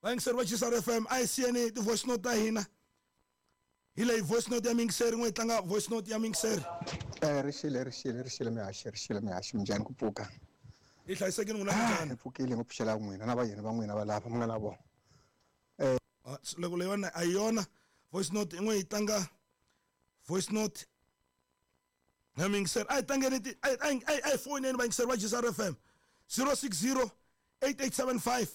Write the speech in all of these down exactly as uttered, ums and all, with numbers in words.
Vayingiseri va G C R F M a hi siyeni ti-voice note ta hina. Hi leyi voice note ya muyingiseri, n'we hi tlanga voice note ya muyingiseri. Eh, rixile, rixile, rixile mihaxi, rixile mihaxi, minjhani ku pfuka? Hi hlayisekile n'wina minjhani? Hi pfukile ngo pfuxela n'wina na vayeni va n'wina va lava mi nga na vona. Eh, Ah, loko leyiwani a hi yona voice note, n'we hi tlanga voice note ya muyingiseri. A hi tlangeni ti, a hi, a hi, a hi foyineni vayingiseri va G C R F M zero six zero eight eight seven five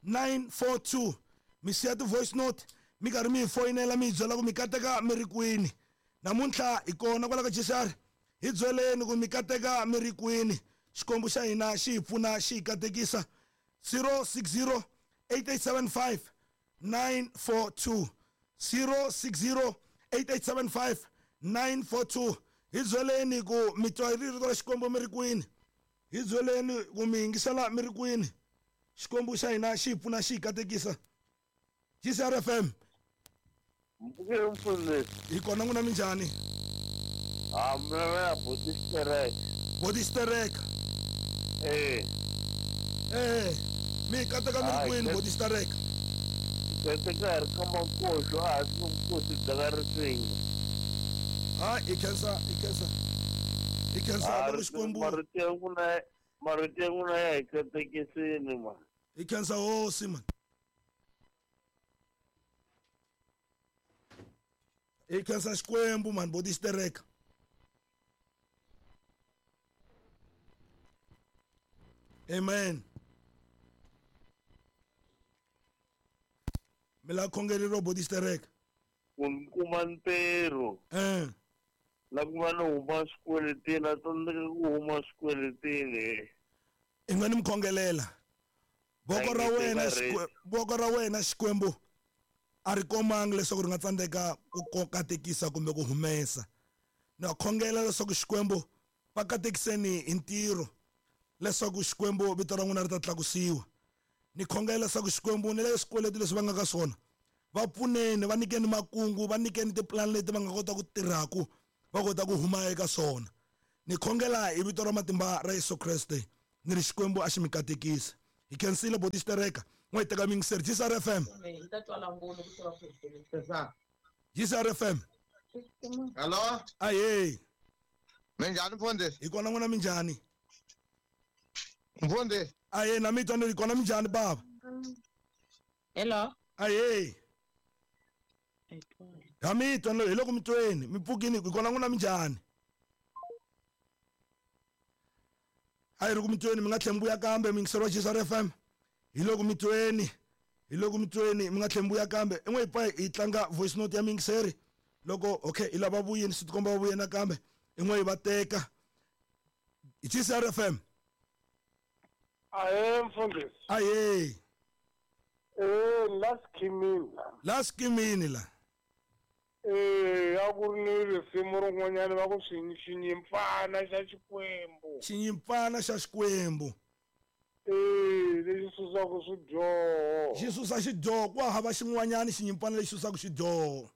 nine four two. Mi siya ti-voice note mi karhi mi hi foyinela mi hi byela ku mi kateka mi ri kwini. Namuntlha hi kona kwala ka G C R, hi byeleni ku mi kateka mi ri kwini. Xikwembu xa hina xi hi pfuna xi hi katekisa. zero six zero eight eight seven five nine four two, zero six zero eight eight seven five nine four two. Hi byeleni ku mi twa rito ra Xikwembu mi ri kwini. Hi byeleni ku mi yingisela mi ri kwini. Xikwembu xa hina xi hi pfuna xi hi katekisa. G C R F M. Mpfukile mfundhisi. Hi kona n'wina minjhani? Ah, mina na Boti Stereka. Boti Stereka. Eh. Eh, mi kateka mi ri Hayi, kwini ke- Boti Stereka? Kateka hi ri ka Makoxo, a ha swi nkosi bya ka Risinga. Ha, hi khensa, hi khensa. Hi khensa Ah, loko Xikwembu. Marito ya n'wina, marito ya n'wina ya hi katekisini ma. Hi khensa hosi man. Hi khensa Xikwembu man, Boti Stereka. Amen. Mi la khongeleriwa Boti Stereka. Ku ni kuma ntirho. Eh. La ku va ni huma swikweletini, a tsandzeka ku huma swikweletini. I nga ni mi khongelela. Voko ra Thank you, wena Barry. Xikwe-, voko ra wena Xikwembu a ri komangi leswaku ri nga tsandzeka ku katekisa kumbe ku humesa. Na khongela leswaku Xikwembu va katekiseni hi ntirho leswaku Xikwembu vito ra n'wina ri ta tlakusiwa. Ni khongela leswaku Xikwembu ni le swikweleti leswi va nga ka swona va pfuneni, va nyikeni makungu, va nyikeni tipulani leti va nga kota ku tirhaku va kota ku huma eka swona. Ni khongela hi vito ra matimba ra Yesu Kreste ni ri Xikwembu a xi mi katekisa. Hi khensile Boti Stereka. N'we hi teka muyingiseri. G C R F M. G C R F M. Hello? Ahee. Minjhani mfundhisi? Hi kona n'wina minjhani? Mfundhisi. Ahee, na mi twa ni ri kona minjhani baba? Hello. Ahee. Ha mi twa hi loko mi tweni, mi pfukini, hi kona n'wina minjhani? A hi ri ku mi tweni, mi nga tlhela mi vuya kambe muyingiseri wa G C R F M. Hi loko mi tweni, hi loko mi tweni, mi nga tlhela mi vuya kambe. I n'we hi pfa hi tlanga voice note ya muyingiseri. Loko okay, hi lava vuyeni, swi tikomba va vuye nakambe. I n'we hi va teka. Hi G C R F M. Ahee mfundhisi. Ahee. Eh, la skimini la. La skimini la. Eh, a ku ri ni risimu rin'wanyana va ku xi-, xinyimpfana xa Xikwembu. Xinyimpfana xa Xikwembu. Eh, lexi susaka swidyoho. Xi susa xidyoho, ku hava xin'wanyana xinyimpfana lexi susaka xidyoho.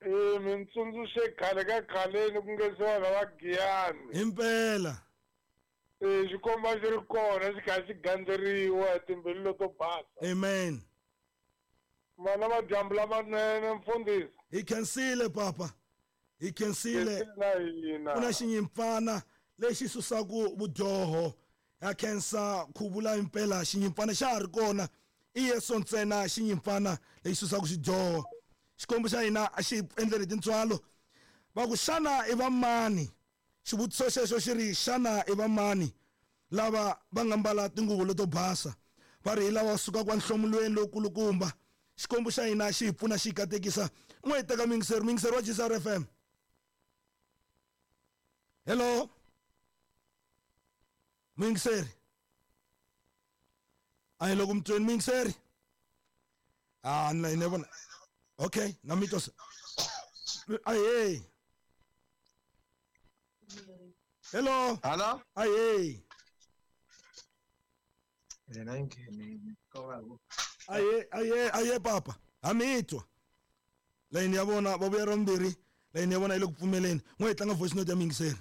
Eh, mi ntsundzuxe khale ka khaleni ku nge se vanhu va Giyani. Himpela. Eh, xikomba xi ri kona xi kha xi gandzeriwa hi timbilu leto basa. Amen. Vana va dyambu lamanene mfundhisi. Hi khensile papa. Hi khensile. Khensile na hina. Ku na xinyimpfana lexi susaka vudyoho. Ya khensa ku vula impela xinyimpfana xa ha ri kona. I Yesu ntsena xinyimpfana lexi susaka xidyoho. Xikwembu xa hina a xi endleli tintswalo. Va ku xana i va mani? Xivutiso xexo xi ri xana i va mani lava va nga mbala tinguvu leto basa? Va ri hi lava sukaka enhlomulweni lowukulukumba. Xikwembu xa hina xi hi pfuna xi hi katekisa. N'we hi teka muyingiseri, muyingiseri wa G C R F M. Hello. Muyingiseri. A hi loko mi tweni muyingiseri. Ah, na ni vona. Okay, na mi twa se. Ahee. Hello. Hello. Ahee. Yena ngene ko va ku. Aye, aye, aye papa. Ha mi twa. Layini ya vona va vuya ra vumbirhi. Layini ya vona yi le ku pfumeleni. N'we hi tlanga voice note ya muyingiseri.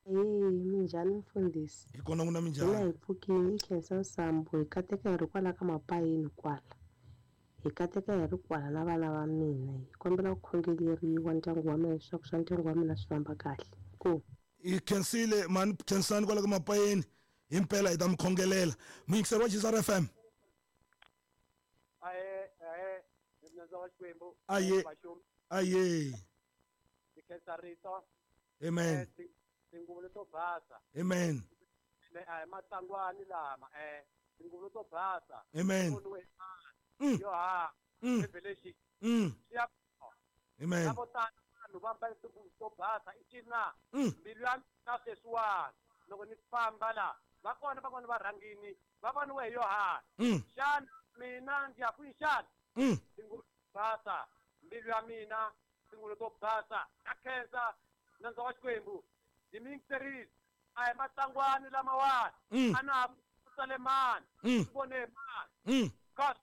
Hey, minjhani mfundhisi? Hi kona n'wina minjhani? Hina hi pfukile, hi khensa nsambu, hi kateka hi ri kwala ka mapayeni kwala. Hi kateka hi ri kwala na vana va mina. Hi kombela ku khongeleriwa ndyangu wa mina leswaku swa ndyangu wa mina swi famba kahle. Ku hi khensile mani khensani kwala ka mapayeni himpela hi ta mi khongelela. Muyingiseri wa G S R F M. Aye aye nandza wa Xikwembu. Aye aye. Hi khensa rito. Amen. Tinguvu leto basa. Amen. Eh matsangwani lama eh tinguvu leto basa. Amen. Mm. Yo ha. Mm. Revelation. Mm. Siya. Amen. Lavo tala vanhu va mbale tinguvu to basa i cina. Mbilu ya mina sweswiwani loko ni famba la va kona van'wana va rhangini va voniwe hi Yohana. Xana mina ndzi ya kwihi xana? Tinguvu to basa mbilu ya mina tinguvu to basa. Na khensa nandza wa Xikwembu. Ndzi mi yingiserile. A hi matsangwani lamawani. A na ha tsale mani. Swi vone hi mani. Kasi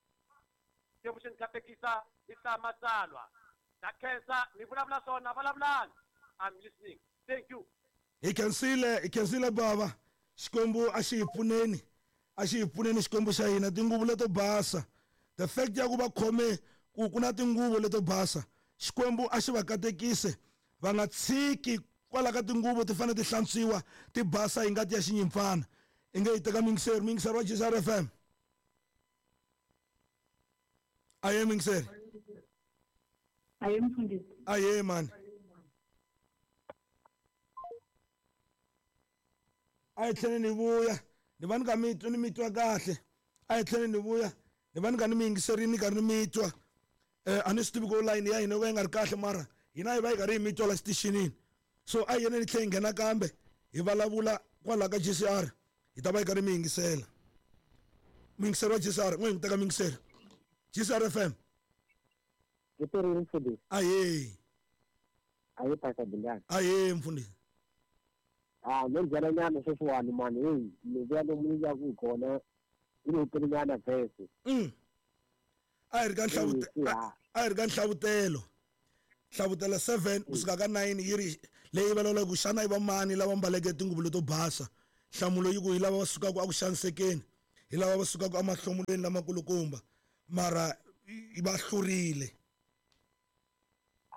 Xikwembu xi ni katekisa hi hlaya matsalwa. Na khensa ni vulavula swona vulavulani. I'm listening. Thank you. Hi khensile, hi khensile bava. Xikwembu a xi hi pfuneni. A xi hi pfuneni Xikwembu xa hina tinguvu leto basa. The fact ya ku va khome ku ku na tinguvu leto basa. Xikwembu a xi va katekise. Va nga tshiki kwala ka tinguvu ti fanele ti hlantswiwa ti basa hi ngati ya xinyimpfana. I nge yi teka muyingiseri, muyingiseri wa G S R F M. Aye muyingiseri. Aye mfundisi. Aye mani. A hi tlheleni hi vuya ni va ni ka mi twa ni mi twa kahle. A hi tlheleni hi vuya ni va ni ka ni mi yingiserini ni karhi ni mi twa. Eh a ni swi tivi ku line ya hina yo ka yi nga ri kahle mara hina hi va hi karhi hi mi twa la xitichini. So a hi yeni ni tlhe hi nghena kambe hi vulavula kwala ka G C R hi ta va hi karhi mi yingisela. Muyingiseri wa G C R n'we hi n'wi teka muyingiseri. G C R F M. Hi perile mfundhisi. Ahee. Ahee Pastor Dingani. Ahee mfundhisi. Ah no byela nyana sweswiwani mani heyi ni vuya lomu ni yaku hi kona yi ni telinyana vhese. Mm. A hi ri ka nhlavutelo a hi ri ka nhlavutelo. Nhlavutelo seven kusuka ka nine yi ri leyi vulavulaka ku xana i va mani lava mbaleke tinguvu leto basa. Nhlamulo yi ku hi lava va sukaka a ku xanisekeni, hi lava va sukaka emahlomulweni lamakulukumba mara va hlurile.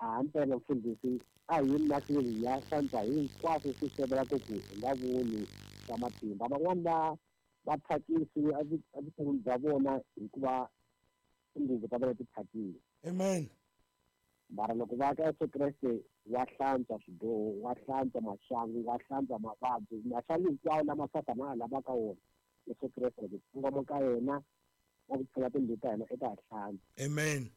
A mpela mfundhisi a hi yini mahlweni hi ya hlantswa hinkwaswo swi sivelaka ku hi nga voni swa matimba. Van'wani va va thyakisiwe evuton'wini bya vona hikuva tinguvu ta vona ti thyakile. Amen. Mara loko va ka Yesu Kreste wa hlantswa swidyoho, wa hlantswa maxangu, wa hlantswa mavabyi, maxangu hinkwawo lama Sathana a lavaka wona Yesu Kreste loko kongoma ka yena na ku pfula timbilu ta hina eka ha hlantswa. Amen.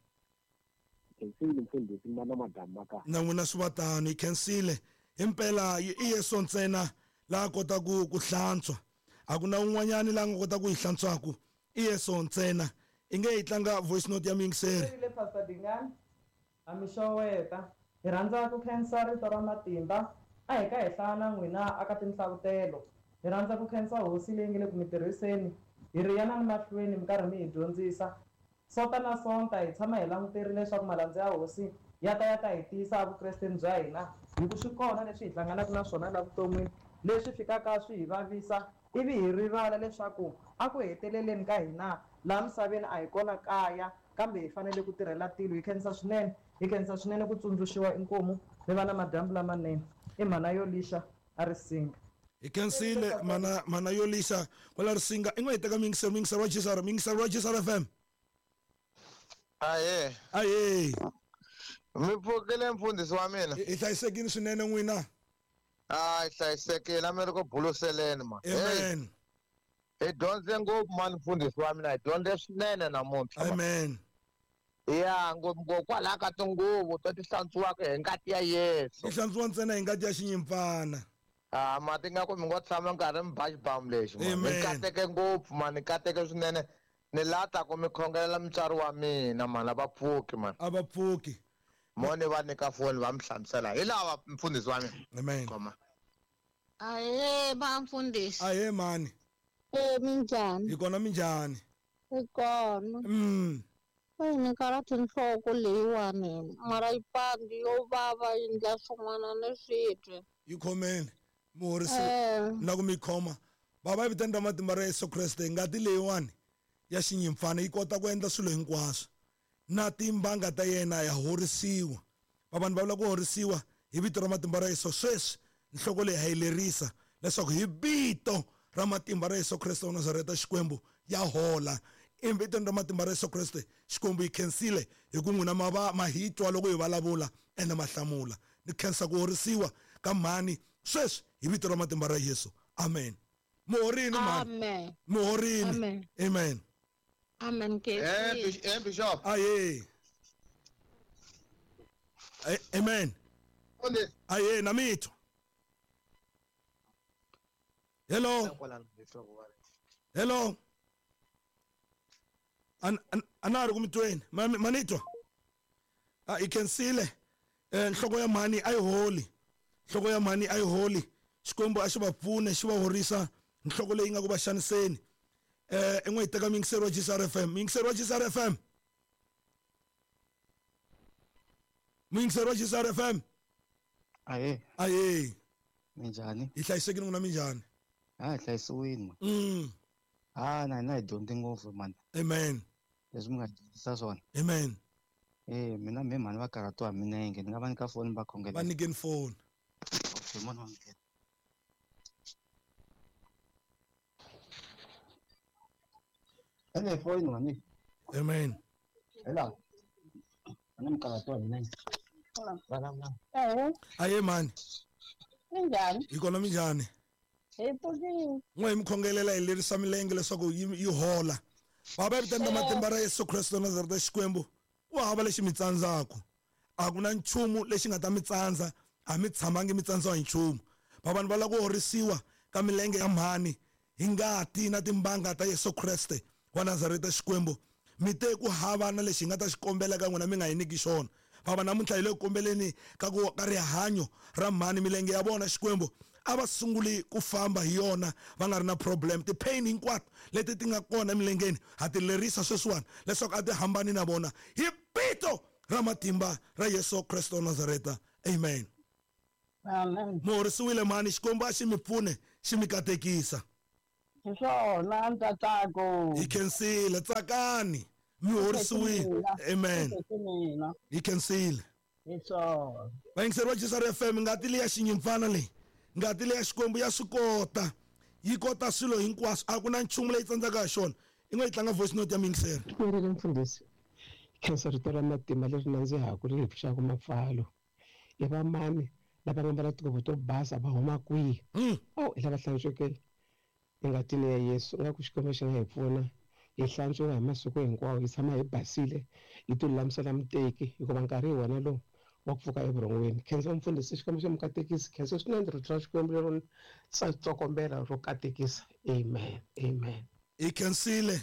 Khensile mfundhisi na madamu ma kahle. Na n'wina swi va tano hi khensile. Himpela i Yesu ntsena laha kota ku ku hlantswa. A ku na un'wanyani laha nga kota ku hi hlantswaku. I Yesu ntsena. I nge hi tlanga voice note ya muyingiseri. Rile Pastor Dingani. A mi xoweta. Hi rhandza ku khensa rito ra matimba. A hi ka hi hlaya na n'wina aka tinhlavutelo. Hi rhandza ku khensa hosi leyi nge le ku mi tirhiseni. Hi ri yanani mahlweni mi karhi mi hi dyondzisa. Sonta na sonta hi tshama hi languterile leswaku malandza ya hosi ya ta ya ta hi tiyisa evukresteni bya hina. Hi ku swi kona leswi hi hlanganaka na swona la vuton'wini leswi fikaka swi hi vavisa ivi hi rivala leswaku a ku heteleleni ka hina laha misaveni a hi kona kaya kambe hi fanele ku tirhela tilo. Hi khensa swinene, hi khensa swinene ku tsundzuxiwa inkomu mi va na madyambu lamanene. I mhana yo lixa a Risinga. Hi khensile mana mana yo lixa kwala Risinga. I n'we hi teka muyingiseri, muyingiseri wa G S R, muyingiseri wa G S R F M. Ahee. Ahee. Mi pfukile mfundhisi wa mina. Hi hlayisekile swinene n'wina. A hi hlayisekile a mi ri ku buluseleni ma. Amen. Hi dyondze ngopfu mani mfundhisi wa mina, hi dyondze swinene namuntlha. Amen. Ya ngopfungopfu kwalaha ka tinguvu to ti hlantswiwaka hi ngati ya Yesu. Ti hlantswiwa ntsena hi ngati ya xinyimpfana. Ah mati nga ku mi ngo tshama nkarhi mi ba xibamu lexi mani. Ni kateke ngopfu mani, ni kateke swinene. Ni lata ku mi khongelela mutswari wa mina mani, a va pfuki mani. A va pfuki. Mo ni va nyika foni va mi hlamusela hi lava mfundhisi wa mina. Amen. Khoma. Ahee va mfundhisi. Ahee mani. Eh minjhani? Hi kona minjhani? Hi kona. Mm. Eyi ni karhati nhloko leyiwani mara yi pandi yo vava yi endla swin'wana ni swi twi. Yi khomeni muhorisi na ku mi khoma. Bava hi vitani ra matimba ra Yesu Kreste ngati leyiwani ya xinyimpfana yi kota ku endla swilo hinkwaswo. na timbanga ta yena ya horisiwa. Vanhu va vula ku horisiwa hi vito ra matimba ra Yesu. Sweswi nhloko leyi ha yi lerisa leswaku hi vito ra matimba ra Yesu Kreste wa Nazareta Xikwembu ya hola. Evitweni ra matimba ra Yesu Kreste Xikwembu yi khensile hi ku n'wina ma va ma hi twa loko hi vulavula ene ma hlamula. Ni khensa ku horisiwa ka mhani sweswi hi vito ra matimba ra Yesu. Amen. Muhorini mhani. Amen. Muhorini. Amen. Amen. Amen. Eh, eh Bishop. Aye. Amen. Aye, na mitwa. Hello. Hello. An anari kumitweni. Manitwa. Ah, ikhensile. Eh nhloko ya mhani ayi holi. Nhloko ya mhani ayi holi. Xikwembu a xi va pfune, xi va horisa nhloko leyi nga ku va xaniseni. Eh en'we yi teka miyingiseri wa G S R F M. Miyingiseri wa G S R F M. Miyingiseri wa G S R F M. Aye. Aye. Minjhani? Hi hlayisekile n'wina minjhani? Ah, hi hlayisiwile. Mm. Ah, na hina hi dyondze ngopfu man. Amen. Leswi mi nga dyondzisa swona. Amen. Eh, mina me mhani va karhatiwa hi milenge, ni nga va nyika foni va khongela. Va nyikeni foni. Okay, mhani wa nghena. Ene foni mhani. Amen. Hello. Mina mi karhatiwa hi milenge. Vulavula. Eh. Aye mhani. Minjhani? Hi kona minjhani? Hi pfukile. N'we hi mi khongelela hi lerisa milenge leswaku yi hola. Baba evitweni ra matimba ra Yesu Kreste wa Nazareta Xikwembu, ku hava lexi mi tsandzaka. A ku na nchumu lexi nga ta mi tsandza, a mi tshamangi mi tsandziwa hi nchumu. Baba ni va lava ku horisiwa ka milenge ya mhani hi ngati na timbanga ta Yesu Kreste wa Nazareta Xikwembu. Mi te ku hava na lexi hi nga ta xi kombela ka n'wina mi nga hi nyiki xona. Baba namuntlha hi le ku kombeleni ka ku ka rihanyo ra mhani milenge ya vona Xikwembu a va sunguli ku famba hi yona va nga ri na problem. Ti-pain hinkwato leti ti nga kona emilengeni ha ti lerisa sweswiwani leswaku a ti hambani na vona hi vito ra matimba ra Yesu Kreste wa Nazareta. Amen. Amen. Mi horisiwile mhani, Xikwembu a xi mi pfune xi mi katekisa. Hi swona ntsako. Hi khensile, tsakani. Mi horisiwile. Amen. Hi khensile. Hi swona. Vayingiseri va G S R F M, ngati leya xinyimpfana leyi, ngati leya Xikwembu ya swi kota. Yi kota swilo hinkwaswo, a ku na nchumu leyi tsandzaka hi xona. I ngo yi tlanga voice note ya miyingiseri. Leri mfundhisi, khensa rito ra matimba leri nandzihaka ri hi pfuxaka mapfalo. I va mani lava nga mbala tinguvu to basa va huma kwihi? Oh, hi lava hlantsweke engatini ya Yesu. Nga ku Xikwembu xi nga hi pfuna hi hlantswiwa hi masiku hinkwawo, hi tshama hi basile, hi ti lulamisela muteki, hikuva nkarhi hi wona lowu wa ku pfuka evurhongweni. Khensa mfundhisi, Xikwembu xi mi katekisa. Khensa swinene rito ra Xikwembu lero tsokombela ro katekisa. Amen. Amen. Hi khensile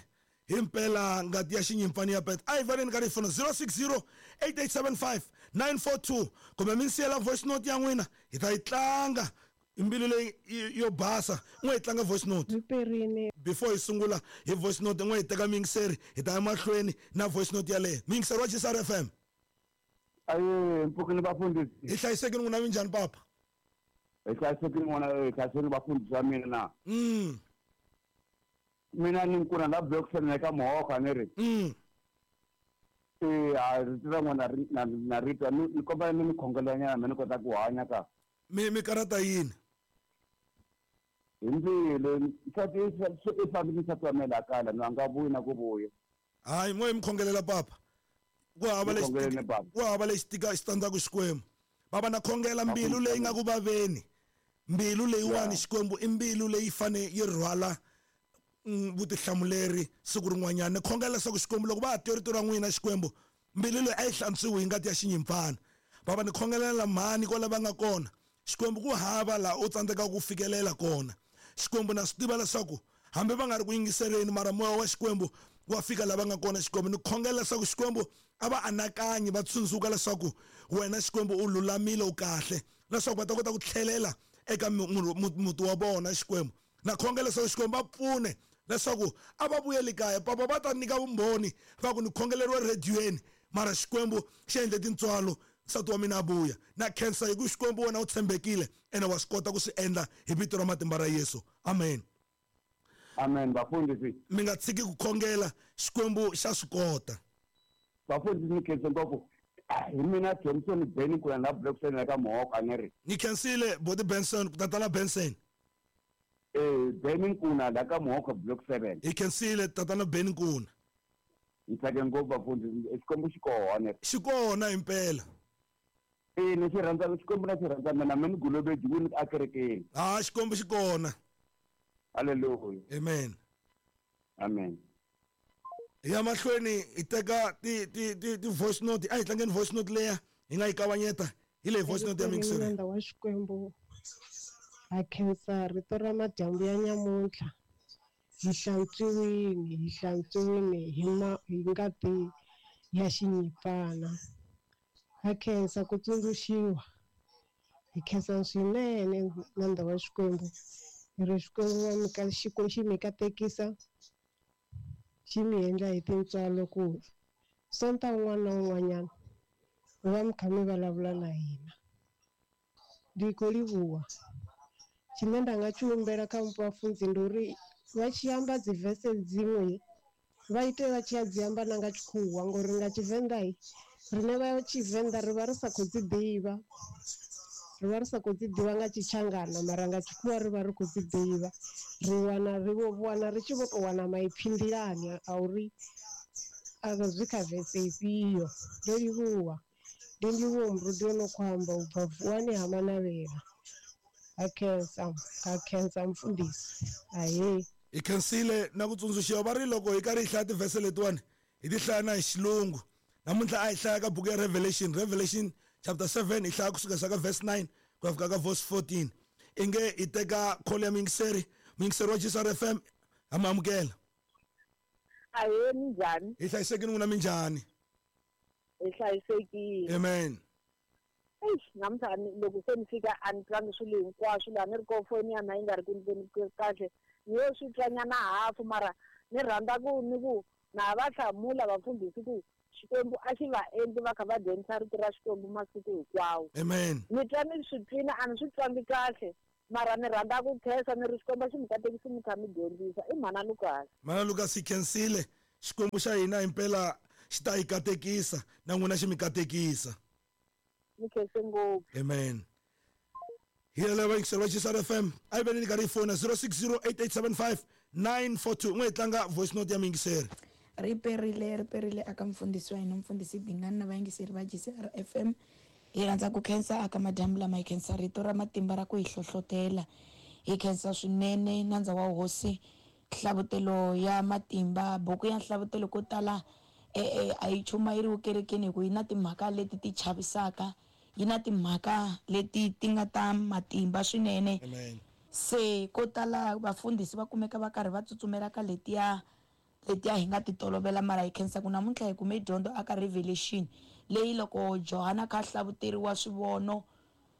himpela ngati ya xinyimpfani ya pet. A hi vaneni ka rifoni zero six zero eight eight seven five nine four two kumbe mi siyela voice note ya n'wina hi ta yi tlanga mbilu leyi yo basa. N'we hi tlanga voice note before hi sungula hi voice note. N'we hi teka miyingiseri hi ta ya mahlweni na voice note yaleyo. Miyingiseri wa G S R F M. Aye, mpfukini vafundhisi. Hi hlayisekile n'wina minjhani papa? Hi hlayisekile n'wana, hi hlayisekile vafundhisi va mina na. Mm. Mina ni nkuna la block eka Muhoka ni ri. Mm. Eh, a rito ra n'wina na na ritwa ni kombela mi ni khongelela nyana mi ni kota ku hanya ka. Mi mi karata yini? Hi mbilu, nsati i fambile nsati wa mina laha kaya ni a nga vuyi na ku vuya. Hayi, n'we mi khongelela papa. Ku hava lexi ku hava lexi tika xi tsandzaka Xikwembu. Baba na khongela mbilu leyi nga ku vaveni. Mbilu leyiwani Xikwembu i mbilu leyi fane yi rhwala vutihlamuleri siku rin'wanyana. Ni khongela leswaku Xikwembu loko va ha twa rito ra n'wina Xikwembu, mbilu leyi a yi hlantswiwi hi ngati ya xinyimpfana. Baba ni khongelela mhani kwala va nga kona. Xikwembu ku hava laha u tsandzekaka ku fikelela kona. Xikwembu na swi tiva leswaku hambi va nga ri ku yingiseleni mara moya wa Xikwembu wa fika lava nga kona. Xikwembu ni khongela leswaku Xikwembu a va anakanyi va tsundzuka leswaku wena Xikwembu u lulamile u kahle, leswaku va ta kota ku tlhelela eka muti wa vona. Xikwembu na khongela leswaku Xikwembu va pfune leswaku a va vuyeli kaya. Papa va ta nyika vumbhoni va ku ni khongeleriwe radiweni mara Xikwembu xi endle tintswalo nsati wa mina a vuya. Na khensa hi ku Xikwembu wena u tshembekile ene wa swi kota ku swi endla hi vito ra matimba ra Yesu. Amen. Amen. Vafundhisi, mi nga tshiki ku khongela, Xikwembu xa swi kota. Vafundhisi ni khense ngopfu. Hi mina Johnson Benny ku la block seven ka Mohawk a ni ri. Ni khensile Boti Benson, tatana Benson. Eh Benny Nkuna la ka Mohawk block seven. Hi khensile tatana Benny Nkuna. Ni tsake ngopfu vafundhisi, Xikwembu xi kona. Xi kona impela. Eh ni xi rhandza Xikwembu na xi rhandza mina mina ni gulobedi ku ni a kerekeni. Ah Xikwembu xi kona. Hallelujah. Amen. Amen. Ya mahlweni hi teka ti ti ti ti voice note, a hi tlangeni voice note leya hi nga yi kavanyeta hi leyi voice note ya mixer. Nandza wa Xikwembu ha khensa rito ra madyambu ya nyamuntlha. Hi hlantswiwile, hi hlantswiwile hi ma hi ngati ya xinyimpfana. Ha khensa ku tsundzuxiwa. Hi khensa swinene nandza wa Xikwembu. Hi ri Xikwembu va mi ka Xikwembu xi mi katekisa, xi mi endla hi tintswalo ku Sonta un'wana na un'wanyana mi va mi kha mi vulavula na hina. Ndi khou livhuwa. Tshine nda nga tshi humbela kha vhafunzi ndi uri vha tshi amba dzi verse dziṅwe vha ite vha tshi ya dzi amba na nga tshikhuwa, ngori nga Tshivenḓa riṋe vha Tshivenḓa ri vha ri sa khou dzi ḓivha. Ri vha ri sa khou dzi ḓivha nga Tshitshangana, mara nga tshikhuwa ri vha ri khou dzi ḓivha. Ri wana ri vho wana ri tshi vho tou wana maipfi nḓilani a uri a zwi kha vese ifhio. Ndo livhuwa. Ndi ndivhuwo Murudi o no khou amba u bva Vuwani ha Manavhela. Ha khensa, ha khensa mfundhisi. Ahee. Hi khensile na ku tsundzuxiwa va ri loko hi karhi hi hlaya tivhese letiwani hi ti hlaya na hi xilungu. Namuntlha a hi hlaya ka buku ya Revelation, Revelation chapter seven hi hlaya kusuka ka verse nine ku ya fika ka verse fourteen. Inge hi teka call ya muyingiseri, muyingiseri wa G S R F M ha mi amukela. Ahee, minjhani? Hi hlayisekile n'wina minjhani? Hi hlayisekile. Amen. Eish, namuntlha loko se ni fika a ni twangi swilo hinkwaswo laha ni ri ko foni ya mina yi nga ri ku ndleni kahle. Ni yo swi twanyana hafu mara ni rhandza ku ni ku na va hlamula vafundhisi ku Xikwembu a xi va endli va kha va dyondzisa rito ra Xikwembu masiku hinkwawo. Amen. Ni twa ni swi twina a ni swi twangi kahle mara ni rhandza ku khensa ni ri Xikwembu xi mi katekisi mi kha mi dyondzisa. I mhana Lucas. Mhana Lucas hi khensile. Xikwembu xa hina himpela xi ta hi katekisa na n'wina xi mi katekisa. Ni khense ngopfu. Amen. Hi yeleyo vayingiseri va G S R F M a yi veni ni karhi yi fona zero six zero eight eight seven five nine four two. N'we hi tlanga voice note ya muyingiseri. Ri perile, ri perile aka mfundhisi wa hina mfundhisi Dingani na vayingiseri va G S R F M. Hi rhandza ku khensa aka madyambu lama, hi khensa rito ra matimba ra ku hi hlohlotela. Hi khensa swinene nandza wa hosi Nhlavutelo ya matimba. Buku ya Nhlavutelo ko tala e a yi chumayeriwi kerekeni hi ku yi na timhaka leti ti chavisaka, yi na timhaka leti ti nga ta matimba swinene. Amen. Se ko tala vafundhisi va kumeka va karhi va tsutsumela ka letiya letiya hi nga ti tolovela, mara hi khensa ku namuntlha hi kume dyondzo aka Revelation leyi loko Johana kha hlavuteriwa swivono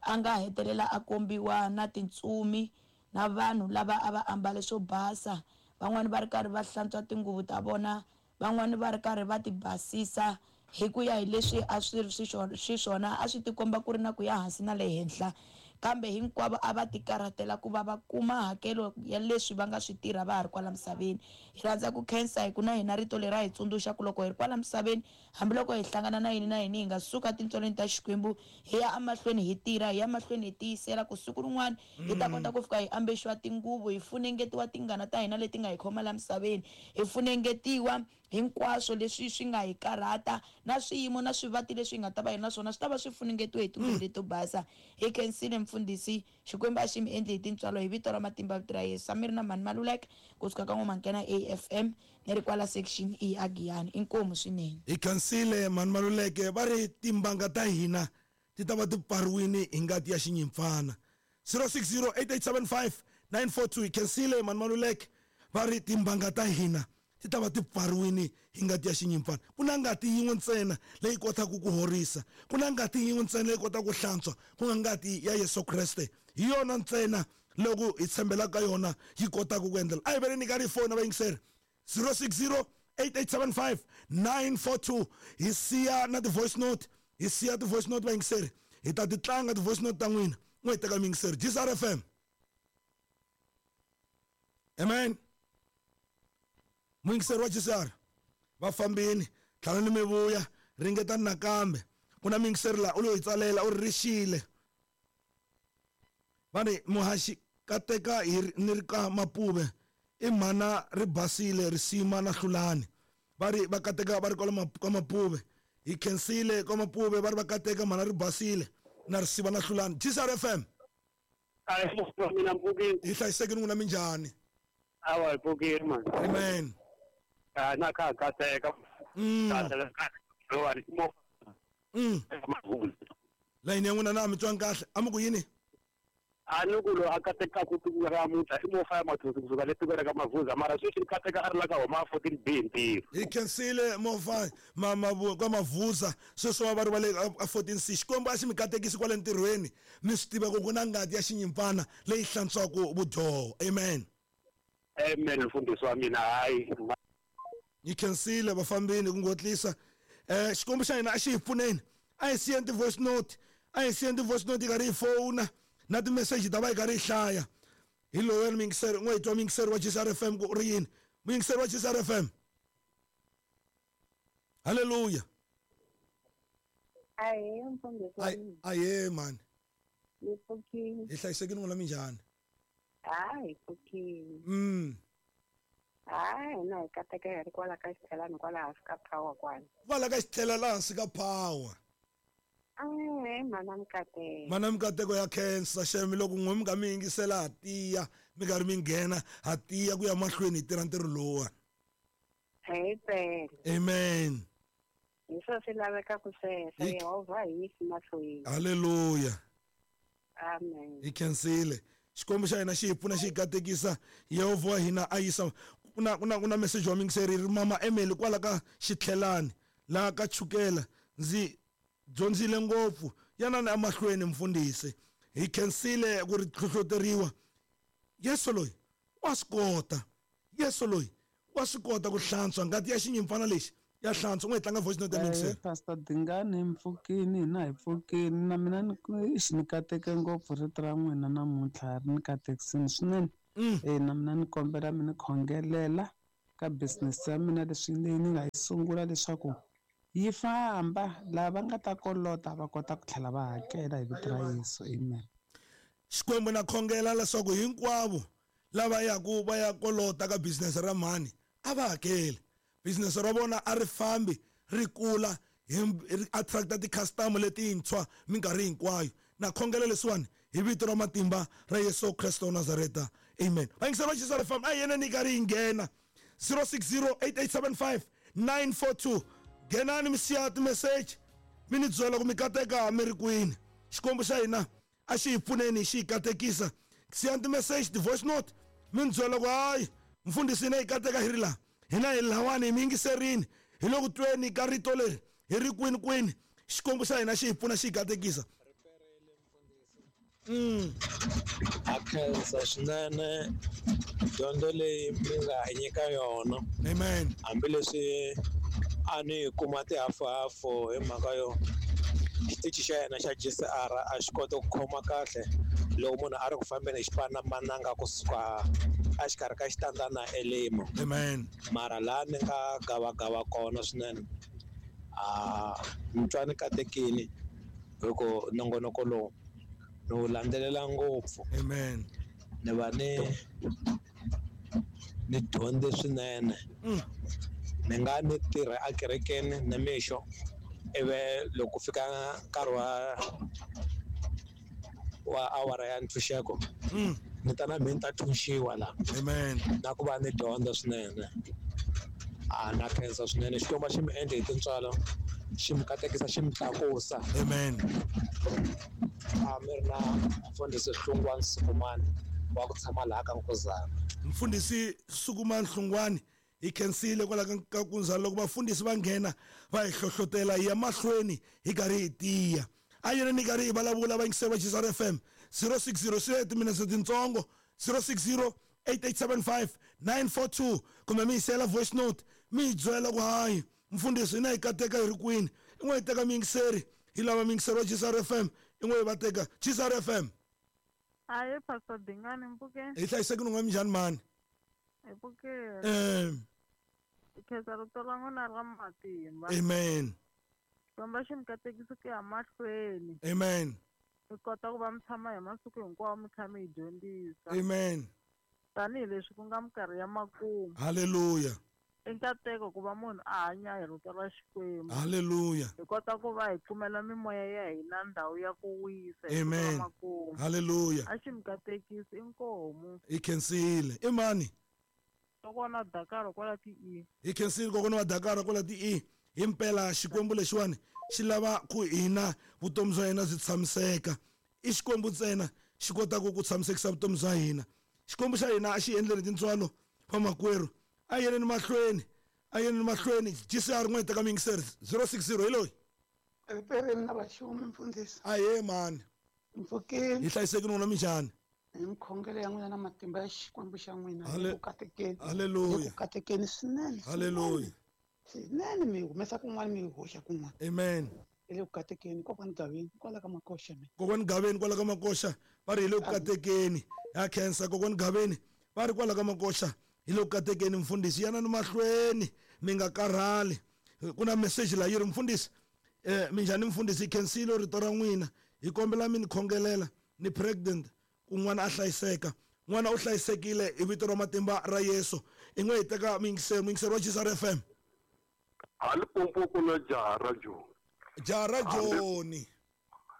a nga hetelela a kombiwa na tintsumi na vanhu lava a va ambale swo basa, van'wani va ri karhi va hlantswa tinguvu ta vona, van'wani va ri karhi va ti basisa hi ku ya hi leswi a swi ri xiswona, a swi tikomba ku ri na ku ya hansi na le henhla, kambe hinkwavo a va ti karhatela ku va va kuma hakelo ya leswi va nga swi tirha va ha ri kwala misaveni. Hi rhandza ku khensa hi ku na hina rito leri a hi tsundzuxa ku loko hi ri kwala misaveni, hambiloko hi hlangana na yini na yini, hi nga suka tintswalweni ta Xikwembu hi ya emahlweni hi tirha, hi ya emahlweni hi tiyisela ku siku rin'wana hi ta kota ku fika hi ambexiwa tinguvu, hi funengetiwa tingana ta hina leti nga hi khoma la misaveni, hi funengetiwa hinkwaswo leswi swi nga hi karhata na swiyimo na swivati leswi hi nga ta va hi na swona swi ta va swi funengetiwe hi tinguvu leto basa. Hi khensile mfundhisi, Xikwembu a xi mi endli hi tintswalo hi vito ra matimba vito ra Yesu. Samiri na Mhani Maluleke kusuka ka N'wamakena A F M ni ri kwala section E a Giyani. Inkomu swinene. Hi khensile Mhani Maluleke. Va ri timbanga ta hina ti ta va ti pfariwile hi ngati ya xinyimpfana. zero six zero eight eight seven five nine four two. Hi khensile Mhani Maluleke. Va ri timbanga ta hina ti ta va ti pfariwile hi ngati ya xinyimpfana. Ku na ngati yin'we ntsena leyi kotaka ku horisa, ku na ngati yin'we ntsena leyi kotaka ku hlantswa, ku nga ngati ya Yesu Kreste. Hi yona ntsena loko hi tshembelaka ka yona yi kotaka ku endlela. A hi veni ni karhi hi fona vayingiseri zero six zero eight eight seven five nine four two. Hi siya na ti-voice note, hi siya ti-voice note vayingiseri, hi ta ti tlanga ti-voice note ta n'wina. N'we hi teka muyingiseri. G S R F M. Amen. Muyingiseri wa G S R va fambini, tlhela ni mi vuya. Ringetani nakambe. Ku na muyingiseri laha u lo hi tsalela u ri rixile. Va ri muhaxi kateka hi ni ri ka Mapuve i mhana ri basile risima na hlulani. Va ri va kateka va ri kwala ka Mapuve. Hi khensile ka Mapuve va ri va kateka mhana ri basile na risiva na hlulani. G S R F M. Hi hlayisekile n'wina minjhani? Awa hi pfukile man. Amen. Ah na ka kateka. Mm. Layini ya n'wina na mi twangi kahle. A mi ku yini? A ni ku loyi a katekaka tiko ra namuntlha i Mofaya Mathonsi kusuka le tikweni ra ka Mavuza, mara sweswi ni kateka a ri la ka homa fourteen B ntirho. Hi khensile Mofaya ma ka Mavuza sweswi va ri va le a fourteen C. Xikwembu a xi mi katekisi kwale ntirhweni, mi swi tiva ku ku na ngati ya xinyimpfana leyi hlantswaka vudyoho. Amen. Amen mfundhisi wa mina. Hayi hi khensile vafambini ku ngotlisa. Eh Xikwembu xa hina a xi hi pfuneni. A hi siyeni ti-voice note, a hi siyeni ti-voice note yi karhi yi fona na ti-message ta va yi karhi yi hlaya. Hi loyani muyingiseri, n'we hi twa muyingiseri wa G S R F M ku ri yini. Muyingiseri wa G S R F M. Hallelujah. Ahee mfundhisi wa mina. Ahee mani. Hi pfukile. Hi hlayisekile n'wina minjhani? Hayi hi pfukile. Mm. Hayi hina hi kateka hi ri kwala ka xitlhelani kwala hansi ka power kwala. Kwala ka xitlhela laha hansi ka power. Eh mana mikateko. Mana mikateko ya khensa xemi loko n'we mi nga mi yingisela ha tiya mi karhi mi nghena ha tiya ku ya mahlweni hi tirha ntirho lowuwani. Hi pela. Amen. Hi swo swi lavekaka sweswo. Yehovha hi yisi mahlweni. Hallelujah. Amen. Hi khensile. Xikwembu xa hina xi hi pfuna xi hi katekisa. Yehovha wa hina a yisa. Ku na ku na ku na message wa muyingiseri ri mama Emily kwala ka xitlhelani laha ka chukela ndzi dyondzile ngopfu yanani emahlweni mfundhisi. Hi khensile ku ri hlohloteriwa. Yesu loyi wa swi kota. Yesu loyi wa swi kota ku hlantswa ngati ya xinyimpfana lexi ya hlantswa. N'we hi tlanga voice note ya muyingiseri. Pastor Dingani mpfukini hina hi pfukini na mina ni ni kateke ngopfu rito ra n'wina namuntlha ri ni katekisini swinene. Eh na mina ni kombela mi ni khongelela ka business ya mina leswi leyi ni nga yi sungula leswaku yi famba lava nga ta kolota va kota ku tlhela va hakela hi vito ra Yesu. Amen. Xikwembu na khongela leswaku hinkwavo lava yaku va ya kolota ka business ra mhani a va hakeli. Business ra vona a ri fambi ri kula ri attracta ti-customer letintshwa minkarhi hinkwayo. Na khongela leswiwani hi vito ra matimba ra Yesu Kristo wa Nazareta. Amen. Vayingiseri va G S R F M a hi yeneni yi karhi yi nghena zero six zero eight eight seven five nine four two. Nghenani mi siya ti-message mi ni byela ku mi kateka mi ri kwini. Xikwembu xa hina a xi hi pfuneni xi hi katekisa. Siyani ti-message ti-voice note mi ni byela ku hayi mfundhisi hina hi kateka hi ri laha, hina hi lawani hi mi yingiserini hi le ku tweni ka rito leri hi ri kwini kwini. Xikwembu xa hina xi hi pfuna xi hi katekisa. Mm. A khensa swinene dyondzo leyi mi nga hi nyika yona. Amen. Hambileswi a ni kuma tihafuhafu hi mhaka yo xitichi xa yena xa G C R a xi kota ku khoma kahle loko munhu a ri ku fambeni hi xipanamananga kusuka exikarhi ka xitanda na elimo. Amen. Mara laha ni nga gavagava kona swinene a ni twa ni katekile hi ku nongonoko lowu ni wu landzelela ngopfu. Amen. Ni va ni ni dyondze swinene. Ni nga ni tirha ekerekeni nimixo ivi loko fika nkarhi wa wa awara ya ntshunxeko ni ta na mina ni ta tshunxiwa laha. Amen. Na ku va ni dyondza swinene. A na khensa swinene. Xikwembu xi mi endle hi tintswalo, xi mi katekisa, xi mi tlakusa. Amen. A mi ri na mfundhisi Hlungwani Sukumani wa ku tshama laha ka Nkuzana. Mfundhisi Sukumani Hlungwani hi khensile kwala ka Nkuzana. Loko vafundhisi va nghena va hi hlohlotela hi ya mahlweni hi karhi hi tiya. A yena ni karhi hi vulavula vayingiseri va G S R F M zero six zero swi timinetse tintsongo zero six zero eight eight seven five nine four two kumbe mi yisela voice note mi hi byela ku hayi mfundhisi hina hi kateka hi ri kwini. I n'we hi teka muyingiseri hi lava muyingiseri wa G S R F M i n'we hi va teka G S R F M. Ahee Pastor Dingani mpfukeni. Hi hlayisekile n'we minjhani mani? Hi pfukile. Eh. Hi khensa rito ra n'wina ra matimba. Amen. Xikwembu xi mi katekisa ku ya mahlweni. Amen. Mi kota ku va mi tshama hi masiku hinkwawo mi kha mi hi dyondzisa. Amen. Tanihileswi ku nga minkarhi ya makumu. Haleluya. I nkateko ku va munhu a hanya hi rito ra Xikwembu. Haleluya. Hi kota ku va hi kumela mimoya ya hina ndhawu ya ku wisa hi Amen. makumu. Haleluya. A xi mi katekisi inkomu. Hi khensile. I mani? Kokwana Dakar kwala ti E. Hi khensile kokwana wa Dakar kwala ti E. Himpela Xikwembu lexiwani xi lava ku hina vutomi bya hina byi tshamiseka. I Xikwembu ntsena xi kotaka ku tshamisekisa vutomi bya hina. Xikwembu xa hina a xi endleni tintswalo vamakwerhu. A yeleni mahlweni, a yeleni mahlweni. G C R n'we teka miyingiseri zero six zero hi loyi. Ripereni na vaxumi mfundhisi. Ahee mani. Mpfukeni. Hi hlayisekile n'wina minjhani? Hi mikhongelo ya n'wina na matimba ya Xikwembu xa n'wina. Hale- Ku katekeni. Haleluya. Ku katekeni swinene. Haleluya. Swinene mi humesa kun'wana mi hoxa kun'wana. Amen. Hi le ku katekeni kokwani Gaveni kwala ka Makoxa mina. Kokwani Gaveni kwala ka Makoxa va ri hi le ku katekeni. Ya khensa kokwani Gaveni va ri kwala ka Makoxa hi le ku katekeni mfundhisi yanani mahlweni mi nga karhali. Ku na message la yi ri mfundhisi eh minjhani mfundhisi hi khensile rito ra n'wina hi kombela mi ni khongelela ni pregnant ku n'wana a hlayiseka. N'wana u hlayisekile hi vito ra matimba ra Yesu. I n'we hi teka muyingiseri muyingiseri wa G C R F M. A Limpopo ku na jaha ra Joni. Jaha ra Joni.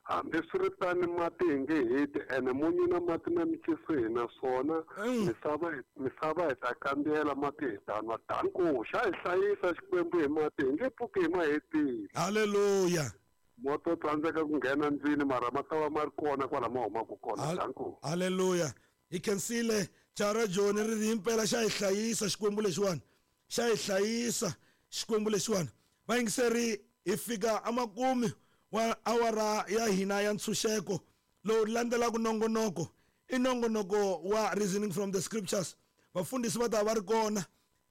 Hambiswiritano mati hi nge heti ene munyu na mati na miciso hi na swona. Misava misava hi ta kambela mati hi ta nwa. Danko xa hi hlayisa Xikwembu hi mati hi nge pfuki hi ma hetile. Haleluya. Moto tsandzeka ku nghena ndlwini mara ma ta va ma ri kona kwala ma humaka kona. Danko. Haleluya. Hi khensile jaha ra Joni ri ri himpela xa hi hlayisa Xikwembu lexiwani. Xa hi hlayisa Xikwembu lexiwani. Vayingiseri hi fika emakumu wa awara ya hina ya ntshunxeko lowu landzelaka nongonoko i nongonoko wa reasoning from the scriptures. Vafundhisi va ta va ri kona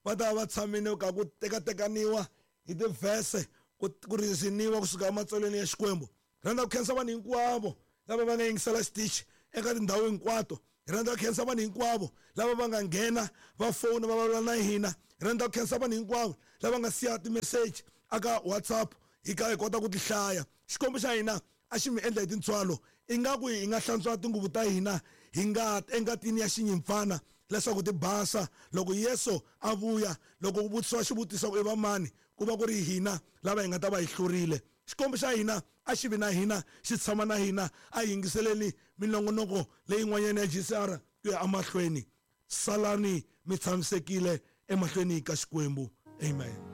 va ta va tshamile ka ku tekatekaniwa hi tivhese ku ku reasoniwa kusuka ematsalweni ya Xikwembu. Rhandza ku khensa vanhu hinkwavo lava va nga yingisela xitichi eka tindhawu hinkwato. Hi rhandza ku khensa vanhu hinkwavo lava va nga nghena va fona va vulavula na hina. Hi rhandza ku khensa vanhu hinkwavo lava nga siya timeseji aka WhatsApp hi ka hi kota ku ti hlaya. Xikwembu xa hina a xi mi endla hi tintswalo ingaku hi nga hlantswa tinguvu ta hina hi nga engatini ya xinyimpfana leswaku ti basa loko Yesu a vuya. Loko ku vutisiwa xivutiso ku i va mani ku va ku ri hina lava hi nga ta va hi hlurile. Xikwembu xa hina a xi vi na hina xi tshama na hina. A hi yingiseleni minongonoko leyin'wanyana ya G C R ku ya emahlweni. Salani mi tshamisekile emahlweni ka Xikwembu. Amen.